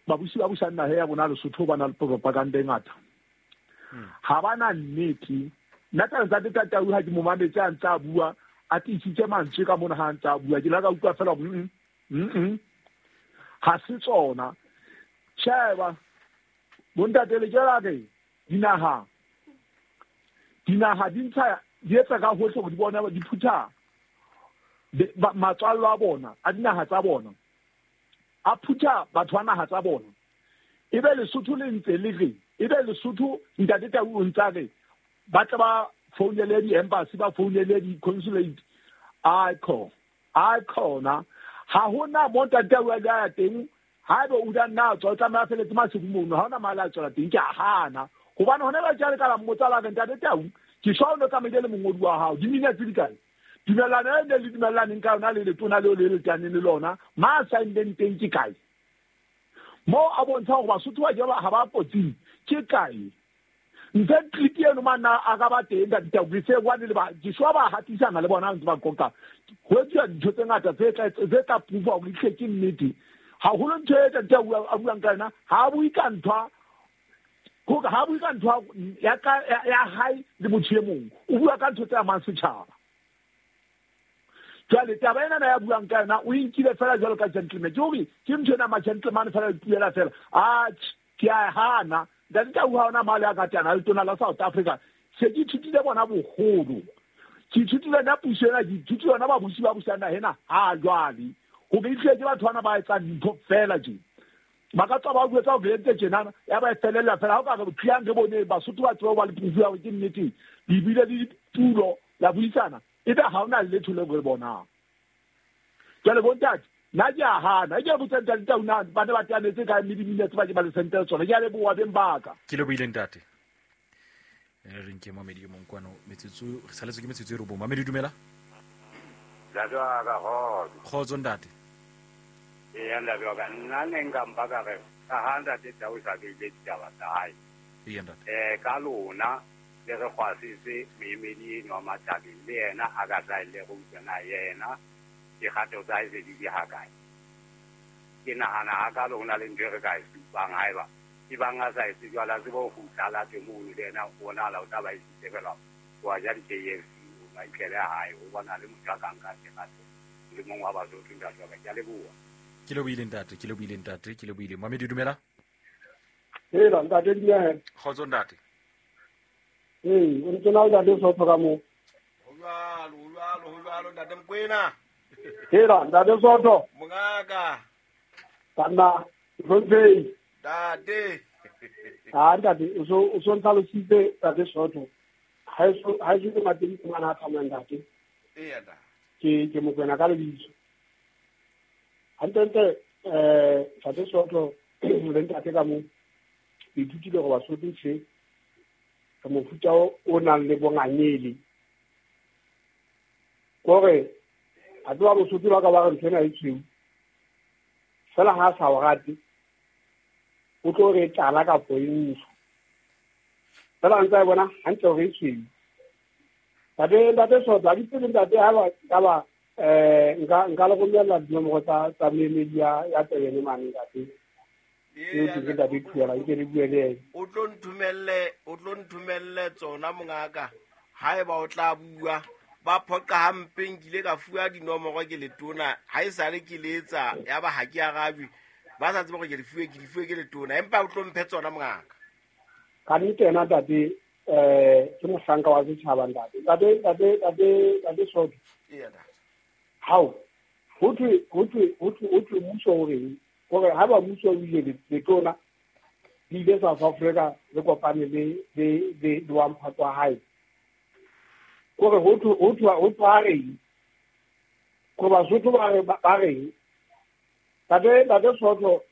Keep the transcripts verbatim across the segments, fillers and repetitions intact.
Babusi ba busang naha ya rona Lesotho ba na le propaganda e ngata. Ha ba na nnete. Nna ka ntate Tau ha ke mo mametse a ntse a bua, a tiisitse mantswe ka mona ha a ntse a bua. Ke la ka utlwa fela mm mm ha se tsona. Sheba bontate le ke la re dinaha dinaha di ntsha di etsa ka hohle hore di bone di phutha matswallo a bona a dinaha tsa bona, a phutha batho ba naha tsa bona. Ebe Lesotho le ntse le re, ebe Lesotho ntate Tau o ntsa re ba tla ba founele di-embassy, ba founele di-consulate. A kho a khona ha hona mo ntate Tau a ya teng. Haebe o da nna tswa o tlameha feletse Maseru mono, ha hona mali a tswela teng. Ke a hana hobane hona ba jale ka la mmotsa la re ntate Tau ke shwa o no tsamaile le mongodi wa hao di-minutes di kae? Dumellano e ne le dumellaneng ka yona le letona leo le letaneng le lona ma saenneng teng ke kae? Mo a bontsha hore Basotho ba ke ha ba kotsing ke kae? Ntse clip eno mana a ka ba teng ntate Tau ke se bone le ba ke shwa ba hatisana le bona ntse ba qoqa. Ho etsuwa dintho tse ngata tse tla tse tla proof hore ehlile ke nnete. Haholo ntho e ntate Tau a buang ka yona ha bue ka ntho hore ha bue ka ntho ya ka ya hae le motho e mong, o bua ka ntho tse amang setjhaba. Jwale taba ena ya buang ka yona o inkile fela jwalo ka gentleman. Ke hore ke ntho ena ma gentleman fela le puela fela. Atjhe, ke a hana. Ntate Tau ha ona mali a ka tana le tona la South Africa. Se ke ithutile bona boholo. Ke ithutile nna puso ena, ke ithutile yona babusi ba busang naha ena ha jwale. Hore ehlile ke batho bana ba etsang dintho fela tje. Ba ka tswa ba bua tsa hore entse tjenana, ya ba e felella fela. Ha o ka re tliang re bone Basotho ba tsebe ho ba le proof ya hore ke nnete. Le bile le ditulo la buisana, ebe ha hona letho leo re bonang. Jwale bontate, nna ke a hana. Ke a botsa ntate Tau na ba ne ba teanetse kae mme di-minutes ba ke ba le sentele tsona. Ke a leboha beng ba ka. Ke lebohile ntate. Re re nke mamedi e mong kwano metsotso re saletswe ke metsotso e robong. Mamedi dumela. Ntate wa ka kgotso. Kgotso ntate. Eya ntate wa ka, nna ne nka mpa ka re ka ha ntate Tau sa beile ditaba tsa hae. Eya ntate. Eh ka lona le re kgwasise moemedi eno wa Mathabeng le yena a ka hlahelle re utlwe na yena dikgato tsa hae se di di hakae. Ke nahana hakalo ho na le ntho e re ka e supang haeba e bang a sa etse jwalo, a tsebe ho kgutla a late mono le yena o bonahala o tla ba isitse fela wa ja di-K F C o ba itlele hae, o bona le motho a ka nka dikgato le mong wa Basotho ntate wa ka. Ke a leboha. Ke lebohile ntate, ke lebohile ntate, ke lebohile. Mamedi dumela. Hela ntate dumela. Kgotso ntate. Ee, o ntse na o ntate Sotho ka moo. Ho jwalo, ho jwalo, ho jwalo ntate Mokoena. Hela ntate Sotho. Mongaka. Banna, Hlomphei. Ntate. Ah ntate, o so o so ntlhalositse ntate Sotho. Ha eso ha eso ke mateng ke ngwana a tsamayang ntate. Eya ntate. Ke ke Mokoena ka lebitso. Hantle eh ntate Sotho le ntate ka moo. Ke ithutile gore Basotho tjhe ka mofuta o nang le bongangele. Kore a tloha Bosotho ba ka ba re ntho ena e tshweu. Fela ha a sa o rate, o tlo re tala kapo e ntsho. Fela a ntse a e bona hantle hore e tshweu. Ntate ntate Sotho, ha ke tsebe ntate ha ba ka ba eh nka nka le romella dinomoro tsa tsa moemedi ya ya Tebene mane ntate. Ee, ke ntate Thuela, nke le bue le yena. O tlo nthomelle, o tlo nthomelle tsona mongaka. Haeba o tla bua ba phoqa hampe, nkile ka fuwa dinomoro ke letona, ha e sale ke letsa ya ba ha ke arabe, ba sa tsebe hore ke di fuwe, ke di fuwe ke letona, empa o tlo mphe tsona mongaka. Ka nnete yena ntate, eh ke mohlanka wa setjhaba ntate. Ntate, ntate, ntate, ntate Sotho. Eya ntate. Hao, ho thwe, ho thwe, ho thwe, ho thwe mmuso o reng? Hore ha ba mmuso o ile letona le ile South Africa le kopane le le le le wa mphato wa hae. Kore ho thwe, ho thwe, ho thwe a reng? Kore Basotho ba re, ba reng? Ntate, ntate Sotho,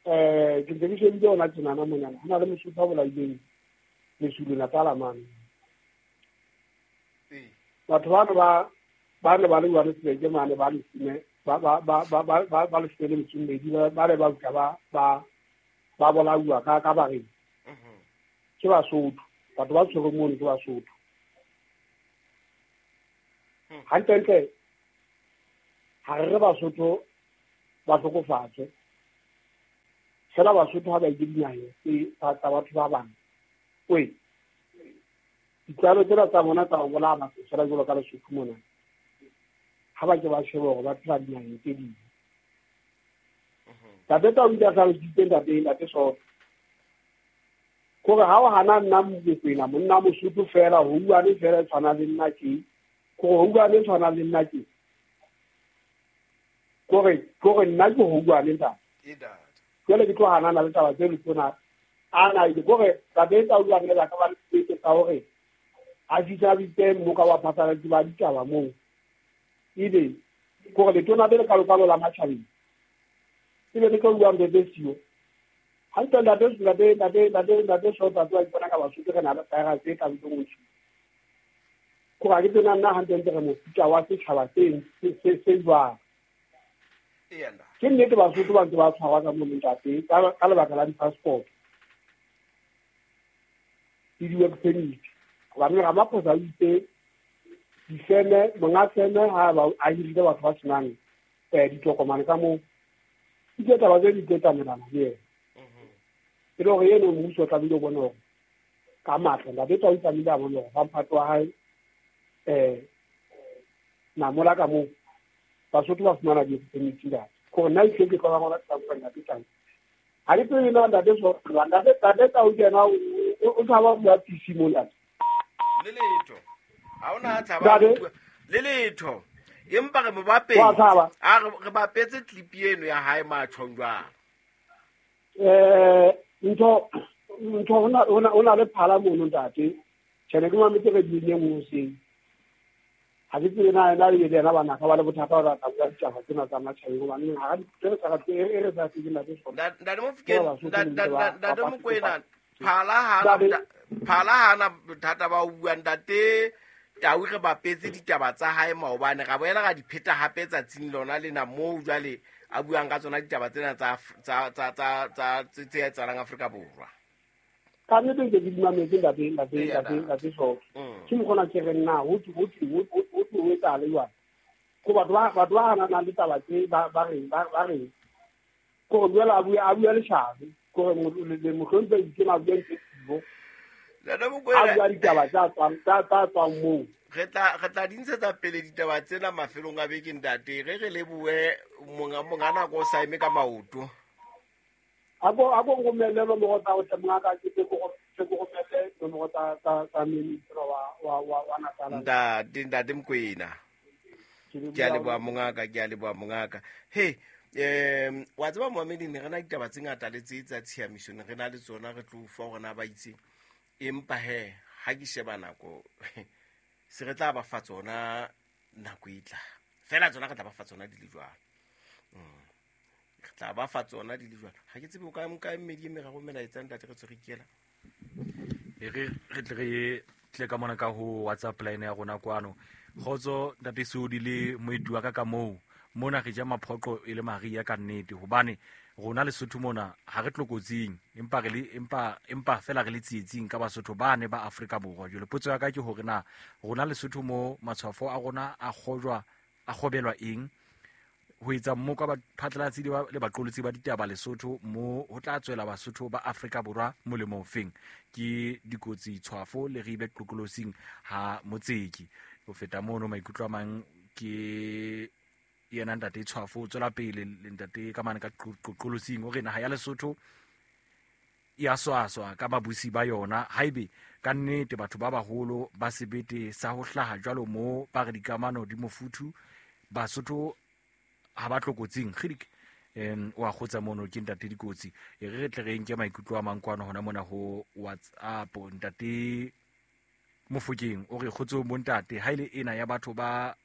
eh ke ntse ke shebile hona tjenana monana, ho na le Mosotho a bolaileng Lesulu Natal mane. Batho bano ba ba ne ba le Johannesburg mane ba leshome, ba ba ba ba ba ba ba leshome le metso e mmedi, ba ba ne ba utlwa ba ba ba bolauwa ka ka bareng. Ke Basotho, batho ba tshwerweng mono ke Basotho. Hantlentle ha re re Basotho ba hlokofatswe, Fela Basotho ha ba ile dinaheng tse tsa batho ba bang. Oi. Ditlwaelo tsena tsa bona tsa ho bolaya batho fela jwalo ka Lesotho mona. Ha ba ke ba shebe hore ba phela dinaheng tse ding. Ntate Tau o ile a hlalositse ntate ntate Soto. Kore ha o hana nna Mokwena monna Mosotho fela ho uane fela e tshwana le nna ke. Kore ho uane tshwana le nna ke. Kore kore nna ke ho uane ntate. Jwale ke tlo hanana le taba tse le tsona. Ana ile kore ntate Tau o ile a ka ba le sebete sa hore a fihla bitse mmoka wa phatlalatsi ba ditaba moo. Ebe kore letona le kalokalo la matjhabeng. Ebe le tlo bua ntho tse siyo. Hantle ntate ntate ntate ntate ntate Soto a tloha ipona ka Basotho re na le virus e ka bitsong ho Kore ha ke tsena nna hantle ntle re mofuta wa setjhaba se se se jwang. Ke nnete Basotho ba ntse ba tshwarwa ka mono ntate ka lebaka la di-passport le di-work permit. Hobane Ramaphosa o itse difeme monga feme ha ba a hirile batho ba senang ditokomane ka moo. Ke taba tse di tlo tsamaelana le yena. E le hore eno mmuso o tlamehile o bone hore ka matla ntate Tau o tlamehile a bone hore ba mphato wa hae um namola ka moo Basotho ba fumana di-permit ntate. Kore nna ehlile ke tlola ngwana tsa ntate Tau. Ha ke tsebe na ntate Soto ntate ntate Tau ke yena o tshaba ho bua P C mo ntate. Le letho. Ha hona tshaba le letho. Empa re mo bapetse. A re bapetse clip eno ya hae matjhong jwang. Eh ntho ntho ona ona ona le phala mono ntate. Tjhe ke mametse re di nngwe hoseng. Ha ke tsebe na ena le yena bana ka ba le bothata ba tla bua ditaba tsena tsa matjhabeng hobane ha re re sa re re sa tsebe ntate Soto. Ntate Mofokeng ntate Mokwena phala hana phala hana bothata ba ho bua ntate Tau re bapetse ditaba tsa hae maobane ra boela ra di pheta hape tsatsing lona lena moo jwale a buang ka tsona ditaba tsena tsa tsa tsa tsa tsa tse etsahalang Afrika Borwa. Ka nnete ke di mametse ntate ntate ntate ntate Soto. Ke mokgona ke re nna ho ho ho ho etsahala jwang. Ko batho ba batho ba hanana le taba tse ba ba reng ba ba reng. Ko jwale a bua a bua leshano. Ko re mohlomphehi ke na bua ntho e Ntate Mokwena a bua ditaba tsa tswang tsa tsa tswang moo. Re tla re tla di ntshetsa pele ditaba tsena mafelong a beke ntate re re lebohe monga monga nako o sa eme ka maoto. A ko a ko nromelle nomoro tsa ho tle monga ka ke ko ke ko romelle nomoro tsa tsa tsa minister wa wa wa wa Natal. Ntate ntate Mokwena. Ke a leboha mongaka ke a leboha mongaka. He em wa tseba moamedi ne re na ditaba tse ngata le tse tsa tshiamiso ne re na le tsona re tlo ufa hore na ba itseng. Empa he ha ke sheba nako se re tla ba fa tsona nako e tla fela tsona re tla ba fa tsona di le jwalo. Re tla ba fa tsona di le jwalo. Ha ke tsebe o ka nka mmedi e meraro melaetsa ntate re tswe re ikela. E re re tle re tle ka mona ka ho WhatsApp line ya rona kwano. Kgotso ntate Sodi le moeti wa ka ka moo mona re ja maphoqo e le Maria ka nnete hobane rona Lesotho mona ha re tlokotsing empa re le empa empa fela re le tsietsing ka Basotho ba ne ba Afrika Borwa. Jwale potso ya ka ke hore na rona Lesotho mo matshwafo a rona a kgojwa a kgobelwa eng ho etsa mmoka ba phatlalatsi le baqolotsi ba ditaba Lesotho mo ho tla tswela Basotho ba Afrika Borwa molemo ofeng. Ke dikotsi tshwafo le ribe tlokolosing ha motseki. Ho feta mono maikutlo a mang ke yena ntate Tshwafo o tswela pele le ntate ka mane ka qoqolosing o re naha ya Lesotho ya swaswa ka babusi ba yona haebe ka nnete batho ba baholo ba sebete sa ho hlaha jwalo mo ba re dikamano di mofuthu Basotho ha ba tlokotsing kgidik em wa kgotsa mono ke ntate Dikotsi. E re re tle re nke maikutlo a mang kwano hona mona ho WhatsApp. Ntate Mofokeng o re kgotso bo ntate ha ile ena ya batho ba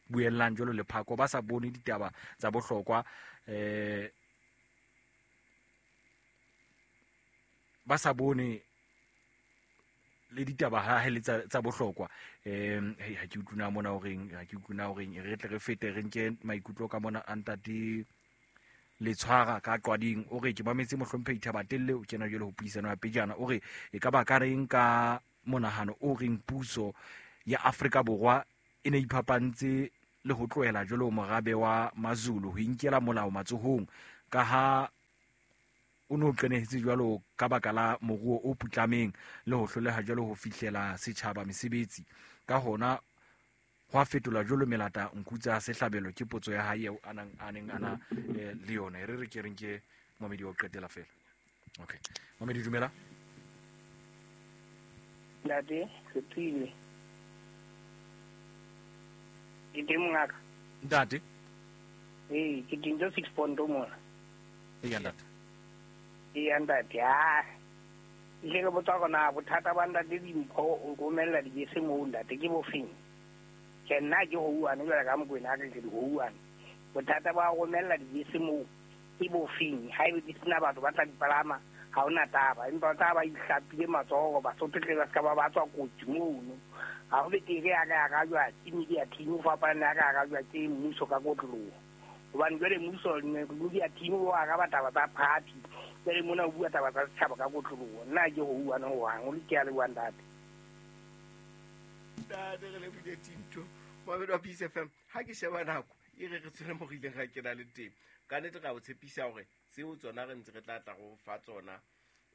buellang jwalo lephako ba sa bone ditaba tsa bohlokwa eh ba sa bone le ditaba ha hele tsa tsa bohlokwa em ha ke utluna mona horeng ha ke utluna horeng re tle re fete re nke maikutlo ka mona a ntate Letshwara ka Qwading o re ke mametse mohlomphehi Thabatelle o kena jwale ho puisano ya pejana o re e ka ba ka reng ka monahano o reng puso ya Afrika Borwa e ne iphapantse le ho tlohela jwalo morabe wa Mazulu ho inkela molao matsohong ka ha o no qenehetse jwalo ka baka la moruo o putlameng le ho hloleha jwalo ho fihlela setjhaba mesebetsi ka hona hwa fetola jwalo melata nkutsa sehlabelo ke potso ya hae eo a nang a neng ana le yona re re ke reng ke momedi o qetela fela. Okay, momedi dumela ntate Sepile ke teng mongaka ntate. Ee, ke teng six point mona. Ee ntate. Ee ntate, ah ile ke botsa hore na bothata ba ntate Dimpho o romella dibese moo ntate ke bofeng? Ke nna ke houane jwale ka Mokwena ke ke houane. Bothata ba romella dibese moo ke bofeng? Haebe di sena batho ba tla di palama ha hona taba, empa taba ba ihlapile matsoho Basotho tle ba ska ba ba tswa kotsi mono. Ha ho betere ya ka ya ka jwa ke media team o fapana ya ka ya ka jwa ke mmuso ka kotloloho. Hobane jwale mmuso media team o araba taba tsa party, jwale mona o bua taba tsa setjhaba ka kotloloho. Nna ke ho uana ho hang o le ke a leboha ntate. Ntate re lebohile Tinto Mohammed wa Peace F M. Ha ke sheba nako e re re tswele mo re ileng ra kena le teng. Ka nnete ra o tshepisa hore tseo tsona re ntse re tla tla go fa tsona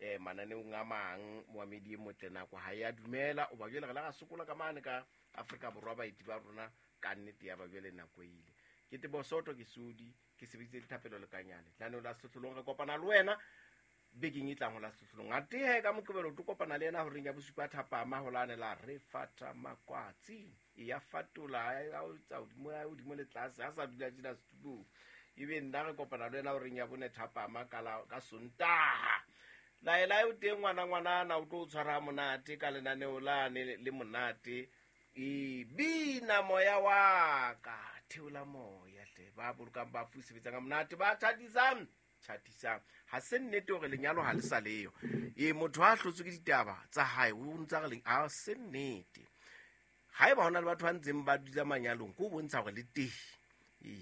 eh mananeong a mang. Mohammed e motle nako ha ya dumela o ba jwale re la ra sokola ka mane ka Afrika Borwa baeti ba rona ka nnete ya ba jwale nako ile. Ke Tebo Soto ke Sodi ke sebeditse dithapelo le Kanyane. Tlaneo la Sehlohlolong re kopana le wena bekeng e tlang ho la Sehlohlolong. Atehe ka Moqebelo to kopana le yena horeng ya bosupa thapama ho lane la re fata makwatsi e ya fatola ya o tsa hodimo ya hodimo le tlase ha sa dula tjena setulong. Ebe nna re kopana le wena horeng ya bone thapama ka la ka Sontaha. Laela eo teng ngwana ngwana o tlo tshwara monate ka lenaneo lane le monate. E bina moya wa ka theola moya hle ba bolokang ba fu sebetsang ka monate ba thatisang thatisang. Ha se nnete hore lenyalo ha le sa leyo. E motho ha hlotswe ke ditaba tsa hae o ntsa re leng ha se nnete. Haeba hona le batho ba ntseng ba dula manyalong ko bontsha hore le teng. E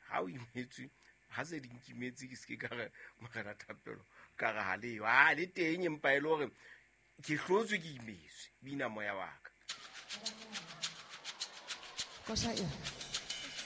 ha o imetswe ha se di nkimetse ke se ke ka re morena thapelo ka re ha leyo. Ha le teng empa e le hore ke hlotswe ke imetswe bina moya wa ka. Kosa e